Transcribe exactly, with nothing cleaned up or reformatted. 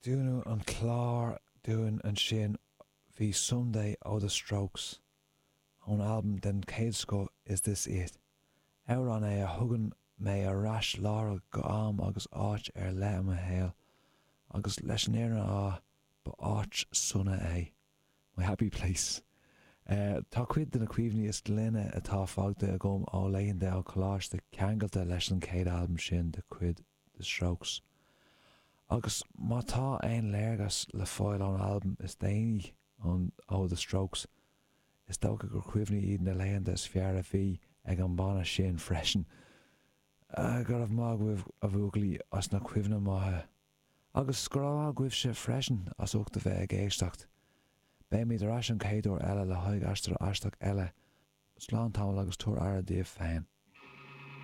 Dúnadh an clár dúinn ansin bhí Someday ó The Strokes ón albam den chéad scoth Is This It. Amhrán é a thugann mé ar ais láithreach go am agus áit ar leith i mo shaol, agus leis an fhírinne a rá, ba áit sona é. My happy place. Tá cuid de na cuimhní is glaine atá fágtha agam ó laethanta an choláiste ceangailte leis an chéad albam sin de chuid The Strokes. Agus má tá aon léargas le fáil ón albam is déanaí ó The Strokes, is dócha gur cuimhní iad na laethanta is fearr a bhí ag an mbanna sin freisin. Go raibh maith agaibh a bhuachaillí as na cuimhní maithe. Agus go raibh maith agaibhse freisin as ucht a bheith ag éisteacht. Beimid ar ais an chéad uair eile le haghaidh aistear aisteach eile. Slán tamall agus tabhair aire daoibh féin.